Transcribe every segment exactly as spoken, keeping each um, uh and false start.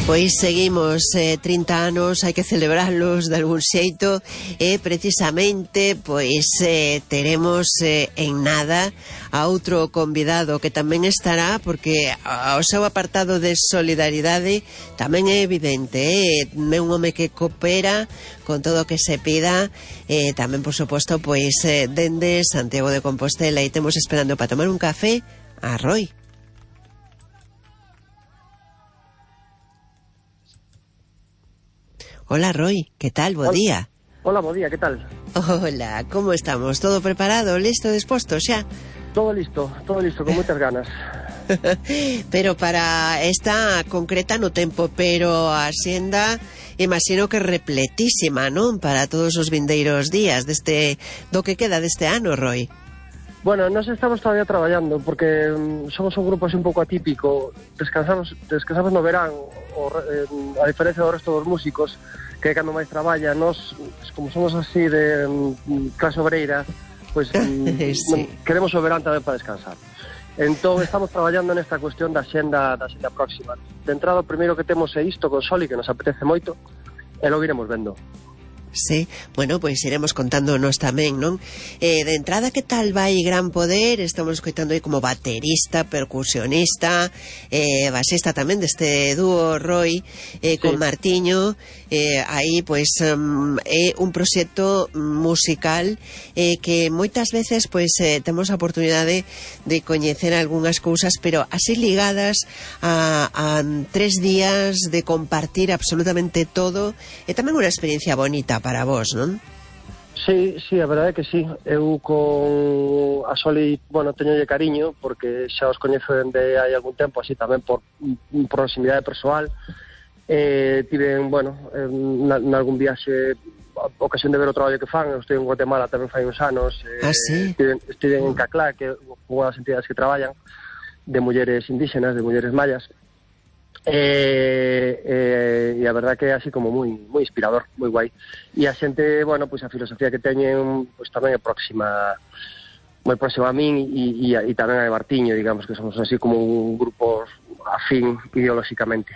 Pois seguimos, eh, trinta anos, hai que celebrarlos de algún xeito, e precisamente pois eh, teremos eh, en nada a outro convidado que tamén estará, porque o seu apartado de solidaridade tamén é evidente, eh? É un home que coopera con todo o que se pida, eh, tamén por suposto pois eh, dende Santiago de Compostela, e temos esperando para tomar un café a Roy. Hola, Roy, ¿qué tal? Bo día. Hola, bo día, ¿qué tal? Hola, ¿cómo estamos? ¿Todo preparado, listo, dispuesto xa? Todo listo, todo listo, con moitas ganas. Pero para esta concreta no tempo, pero a xenda imagino que repletísima, non? Para todos os vindeiros días deste do que queda deste ano, Roy. Bueno, nos estamos todavía traballando porque um, somos un grupo así un pouco atípico. Descansamos, descansamos no verán, o, eh, a diferencia do resto dos músicos, que cando máis traballa, nos, como somos así de um, clase obreira, pues um, sí. Queremos o verán tamén para descansar. Entón, estamos traballando nesta cuestión da xenda, da xenda próxima. De entrada, o primeiro que temos é isto con Soli, que nos apetece moito, e logo iremos vendo. Sí, bueno, pois pues iremos contándonos tamén, non? Eh, de entrada, que tal vai Gran Poder? Estamos escoitando aí como baterista, percusionista, eh, basista tamén deste dúo Roy, eh, sí. Con Martiño, eh, aí, pois, pues, um, é un proxecto musical eh, que moitas veces, pois, pues, eh, temos a oportunidade de coñecer algunhas cousas, pero así ligadas a, a tres días de compartir absolutamente todo, e tamén unha experiencia bonita para vos, non? Sí, sí, a verdade é que sí. Eu con a Soli, bueno, teñolle cariño porque xa os coñezo dende hai algún tempo, así tamén por proximidade persoal. Eh, tiven, bueno, en, en algún viaxe a ocasión de ver o traballo que fan. Eu estive en Guatemala tamén fai uns anos. Eh, ah, sí? Estive, estive en Caclá, que é unha das entidades que traballan de mulleres indígenas, de mulleres mayas. Eh, eh, e a verdad que é así como moi moi inspirador, moi guai. E a xente, bueno, pois a filosofía que teñen pois tamén é próxima, moi próxima a min, e, e, e tamén a de Martiño, digamos que somos así como un grupo afín ideolóxicamente.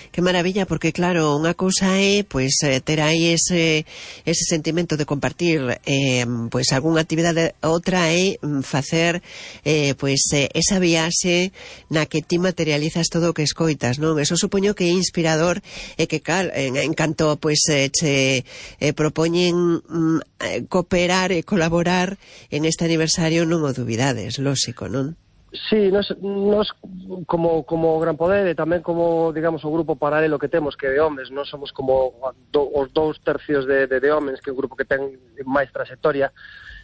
Que maravilla, porque claro, unha cousa é pois ter aí ese ese sentimento de compartir eh, pois algunha actividade, outra é facer eh, pois eh, esa viaxe na que ti materializas todo o que escoitas, non? Eso supoño que é inspirador e que cal, en, en canto pois eh, che eh, propoñen mm, cooperar e colaborar en este aniversario, non o dubidades, lóxico, non? Sí, nos, nos como, como Gran Poder e tamén como, digamos, o grupo paralelo que temos, que é de homes, non somos como do, os dous tercios de, de, de homes, que é un grupo que ten máis trayectoria,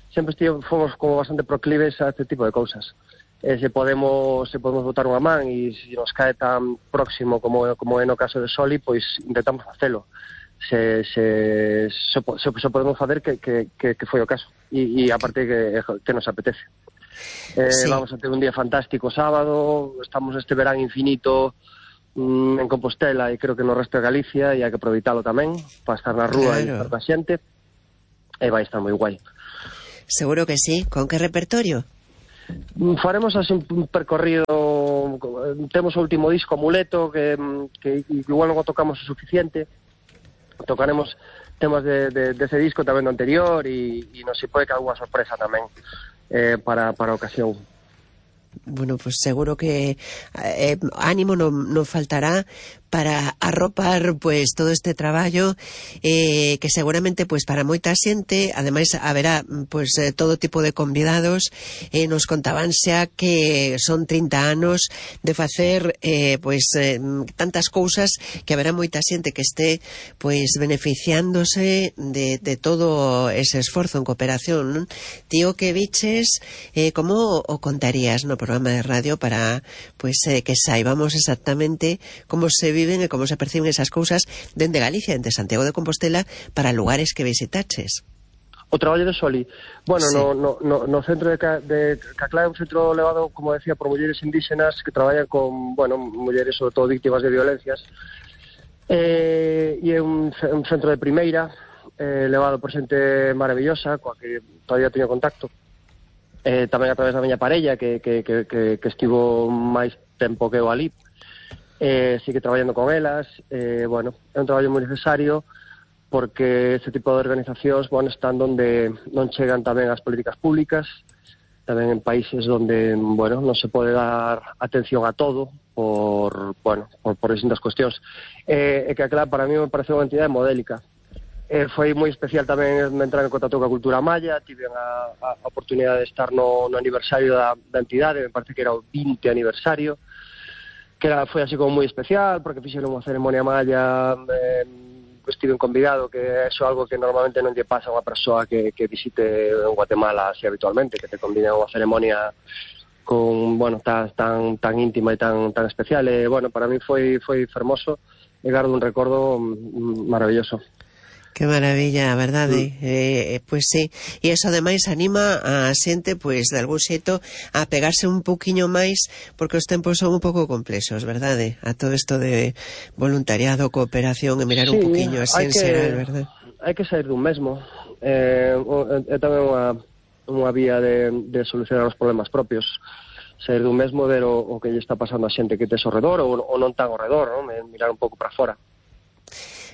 sempre estive, fomos como bastante proclives a este tipo de cousas. E se podemos, se podemos botar unha man e se nos cae tan próximo como, como é no caso de Soli, pois intentamos facelo. Se, se, se, se, se podemos facer que, que, que, que foi o caso. E, e aparte que, que nos apetece. Eh, sí. Vamos a ter un día fantástico sábado, estamos este verán infinito mm, en Compostela e creo que no resto de Galicia, e hai que aproveitalo tamén para estar na rúa, claro, e estar coa xente, e vai estar moi guai. Seguro que sí. Con que repertorio? Faremos así un percorrido. Temos o último disco, Amuleto, que, que igual non o tocamos o suficiente. Tocaremos temas de, de, de ese disco tamén do anterior, e, e non se pode que alguna sorpresa tamén Eh, para, para a ocasión. Bueno, pues seguro que eh, ánimo non, non faltará para arropar pues todo este traballo eh, que seguramente pues para moita xente, ademais haberá pues eh, todo tipo de convidados. Eh, nos contaban xa que son trinta anos de facer eh, pues eh, tantas cousas que haberá moita xente que este pues beneficiándose de, de todo ese esforzo en cooperación, non? Tío, que biches, eh, como o contarías no programa de radio para pues eh, que saibamos exactamente como se viven e como se perciben esas cousas dende Galicia, dende Santiago de Compostela, para lugares que visitaches? O traballo de Soli, bueno, sí. no, no, no, no centro de, de Caclá é un centro levado, como decía, por mulleres indígenas que traballan con, bueno, mulleres sobre todo víctimas de violencias, eh, e é un, un centro de primeira, eh, levado por xente maravillosa, coa que todavía teño contacto, eh, tamén a través da miña parella, que, que, que, que, que estivo máis tempo que eu ali. eh, sigue traballando con elas, eh, bueno, é un traballo moi necesario porque este tipo de organizacións, bueno, están donde non chegan tamén as políticas públicas, tamén en países donde, bueno, non se pode dar atención a todo por, bueno, por, por distintas cuestións. Eh, e que, claro, para mí me parece unha entidade modélica. Eh, foi moi especial tamén entrar en contacto coa cultura maya, tive a, a oportunidade de estar no, no aniversario da, da entidade, me parece que era o vinte aniversario, que era, foi así como moi especial, porque fixeron unha ceremonia maya, eh, estiven convidado, que é algo que normalmente non lle pasa a unha persoa que, que visite en Guatemala así habitualmente, que te conviden a unha ceremonia con, bueno, tan, tan, tan íntima e tan, tan especial. E, bueno, para mí foi, foi fermoso e gardo un recordo maravilloso. Que maravilla, a verdade. Mm. Eh, pois sí, e iso ademais anima a xente, pois, de algún xeito a pegarse un pouquiño máis, porque os tempos son un pouco complexos, verdade? A todo isto de voluntariado, cooperación, e mirar sí, un pouquiño así en xeral, verdade? Hai que sair dun mesmo. É eh, eh, tamén unha, unha vía de, de solucionar os problemas propios. Sair dun mesmo, ver o, o que lle está pasando a xente que tes ao redor, ou, ou non tan ao redor, non? Mirar un pouco para fora.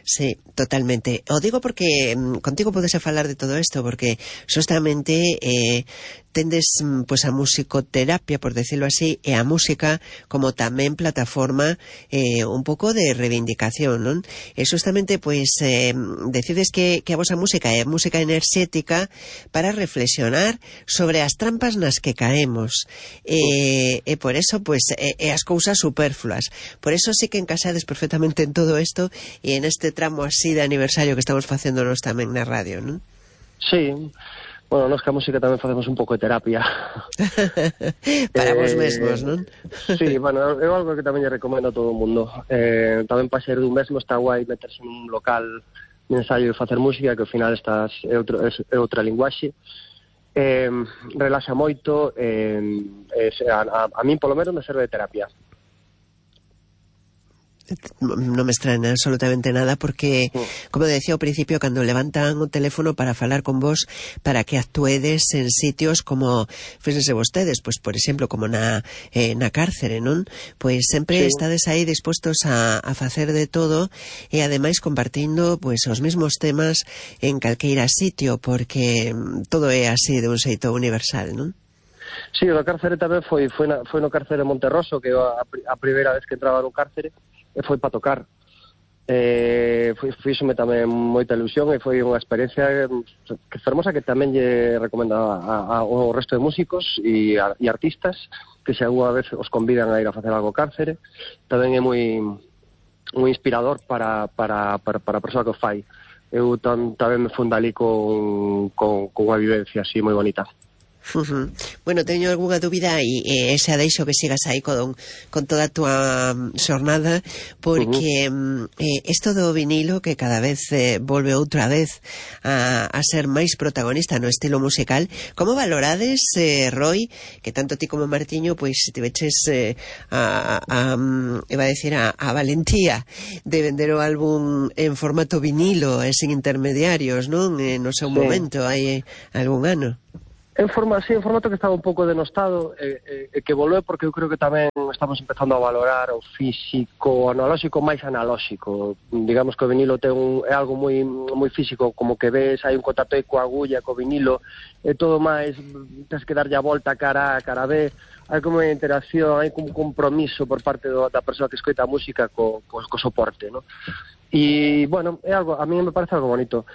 Sí, totalmente. O digo porque mm, contigo podese falar de todo isto, porque justamente eh, tendes pues, a musicoterapia, por decirlo así, e a música como tamén plataforma eh, un pouco de reivindicación, non? E justamente, pues, eh, decides que, que a vosa música é música enerxética para reflexionar sobre as trampas nas que caemos. E, e por eso, pues, e, e as cousas superfluas. Por eso sí que encaixades perfectamente en todo isto e en este tramo así de aniversario que estamos facéndonos tamén na radio, non? Sí, bueno, nós que a música tamén facemos un pouco de terapia. Para eh, vos mesmos, non? Sí, bueno, é algo que tamén lle recomendo a todo o mundo. Eh, tamén para ser dun mesmo está guai meterse nun local de ensaio e facer música, que ao final estás, é, outro, é, é outra linguaxe. Eh, relaxa moito, eh, a, a, a min polo menos me serve de terapia. Non me extraña absolutamente nada porque, como decía ao principio, cando levantan o teléfono para falar con vos, para que actuedes en sitios como fíxense vostedes, pois por exemplo como na, eh, na cárcere, non? Pois sempre sí. Estades aí dispostos a, a facer de todo e ademais compartindo pois os mesmos temas en calqueira sitio, porque todo é así de un xeito universal, non? Sí, o cárcere tamén foi, foi, na, foi no cárcere Monterroso, que a, a primeira vez que entraba no cárcere e foi para tocar. Eh, foi, fíxome tamén moita ilusión e foi unha experiencia que fermosa, que tamén lle recomendo a, a, ao resto de músicos e, a, e artistas que se alguna vez os convidan a ir a facer algo ao cárcere. Tamén é moi moi inspirador para, para, para, para a persoa que o fai. Eu tam, tamén me funda ali con, con, con unha vivencia así moi bonita. Uh-huh. Bueno, teño algunha dúbida e, e xa deixo que sigas aí con, con toda a túa xornada, porque uh-huh. eh, isto do vinilo que cada vez eh, volve outra vez a, a ser máis protagonista no estilo musical, como valorades, eh, Roy, que tanto ti como Martiño pois se tiveches eh, a, a, a, iba a decir a, a valentía de vender o álbum en formato vinilo e sin intermediarios, non? Eh, no seu sí. momento, hai eh, algún ano. En forma, sí, en formato que estaba un pouco denostado e eh, eh, que volve porque eu creo que tamén estamos empezando a valorar o físico, o analóxico máis analóxico. Digamos que o vinilo ten un, é algo moi moi físico, como que ves, hai un contacto aí coa agulla, co vinilo, e todo máis, tens que darlle a volta cara A, cara B, hai como unha interacción, hai como un compromiso por parte do, da persoa que escoita a música co, co, co soporte, ¿no? E, bueno, é algo, a mí me parece algo bonito.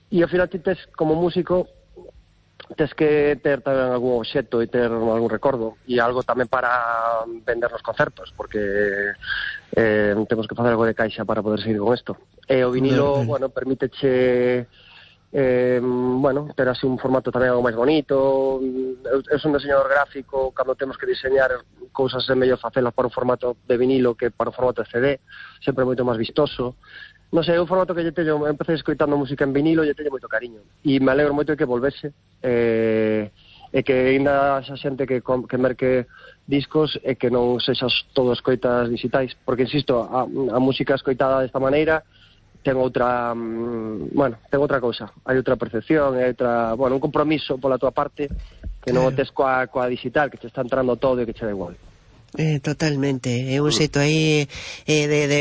E ao final ti tes, como músico, tes que ter tamén algún obxecto e ter algún recordo e algo tamén para vender nos concertos, porque eh, temos que facer algo de caixa para poder seguir con isto. E o vinilo, no, bueno, permíteche eh, bueno, ter así un formato tamén algo máis bonito. Eu, eu son diseñador gráfico, cando temos que diseñar cousas é mellor facelas para un formato de vinilo que para un formato de C D, sempre moito máis vistoso. Non sei, é un formato que lle teño, empecé escoitando música en vinilo e lle teño moito cariño. E me alegro moito de que volvese, eh, e que ainda xa xente que, que merque discos e que non sexas todo escoitas digitais. Porque, insisto, a, a música escoitada desta maneira ten outra, bueno, ten outra cousa. Hai outra percepción, hai outra, bueno, un compromiso pola tua parte que non o tes coa, coa digital, que te está entrando todo e que che da igual. Eh, totalmente, é un xeito aí eh, de, de